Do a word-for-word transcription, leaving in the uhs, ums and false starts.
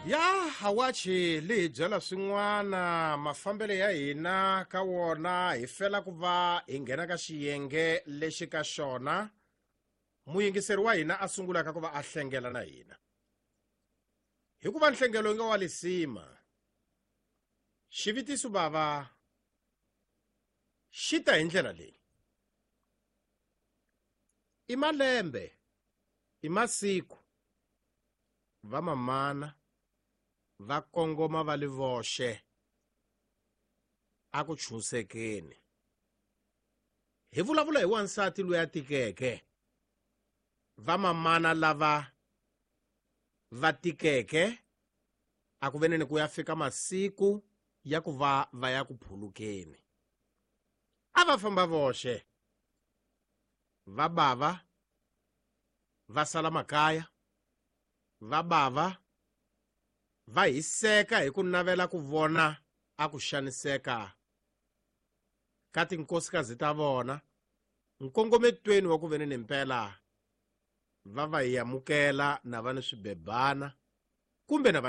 Ya hawachi li hi byela swin'wana mafambelo ya hina ka wona hi fela ku va hi nghena ka xiyenge lexi ka xona muyingiseri wa hina a sungulaka ku va a hlengela na hina hikuva nhlengelo yi nga wa lisima xivitiso bava xi ta hi ndlela leyi i malembe i masiku vamamana va kongoma va li voxe a ku chunsekeni hi vulavula hi wansati loyi a tikeke vamamana lava va tikeke a ku veneni ku ya fika masiku ya ku va va ya ku phulukeni a va famba voxe va bava va sala makaya va bava va hiseka hi ku navela ku vona a ku xaniseka ka tinkosikazi ta vona nkongometweni wa ku veneni mpela va va hi amukela na va ni swibebana kumbe na va